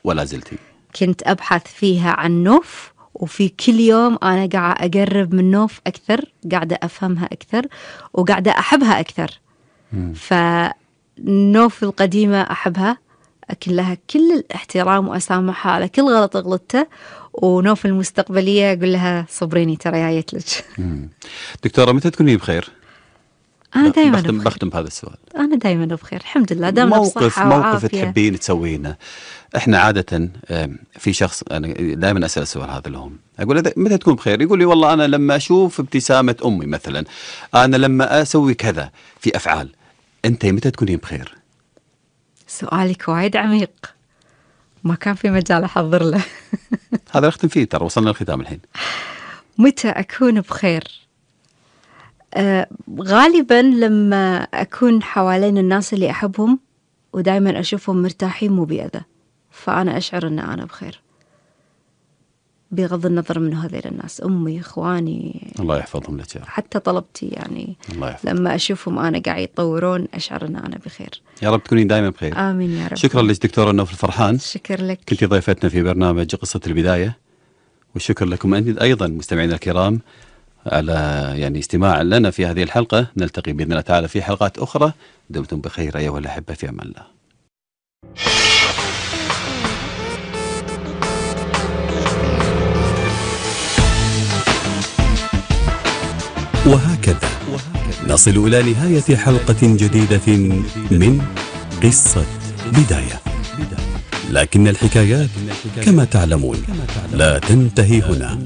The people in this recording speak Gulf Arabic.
ولا زلتي؟ كنت أبحث فيها عن نوف، وفي كل يوم أنا قاعدة أقرب من نوف أكثر، قاعدة أفهمها أكثر، وقاعدة أحبها أكثر. فنوف القديمة أحبها، أكن لها كل الاحترام وأسامحها على كل غلط غلطته، ونوف المستقبلية أقول لها صبريني ترى جايت لك. دكتورة متى تكوني بخير؟ أنا دائما بخير. بختم بهذا السؤال. أنا دائما بخير الحمد لله، دائما بصحة وعافية. موقف تحبين تسوينه. احنا عادة في شخص أنا دائما أسأل السؤال هذا لهم، أقول متى تكون بخير؟ يقول لي والله أنا لما أشوف ابتسامة أمي مثلا، أنا لما أسوي كذا في أفعال. أنت متى تكونين بخير؟ سؤالك وايد عميق، ما كان في مجال أحضر له. هذا نختم فيه، ترى وصلنا للختام الحين. متى أكون بخير؟ غالبا لما أكون حوالين الناس اللي أحبهم ودائما أشوفهم مرتاحين مو بأذى، فأنا أشعر أن أنا بخير، بغض النظر من هذيل الناس، أمي، إخواني، الله يحفظهم لك يا رب. حتى طلبتي يعني الله يحفظهم. لما أشوفهم أنا قاعد يتطورون أشعر أن أنا بخير. يا رب تكونين دائما بخير. آمين يا رب. شكرا لك دكتورة نوف الفرحان. شكر لك، كنتي ضيفتنا في برنامج قصة البداية، والشكر لكم أنت أيضا مستمعينا الكرام على يعني استماع لنا في هذه الحلقة. نلتقي بإذن الله تعالى في حلقات أخرى. دمتم بخير أيها الأحبة، في أمان الله. وهكذا نصل إلى نهاية حلقة جديدة من قصة بداية، لكن الحكايات كما تعلمون لا تنتهي هنا.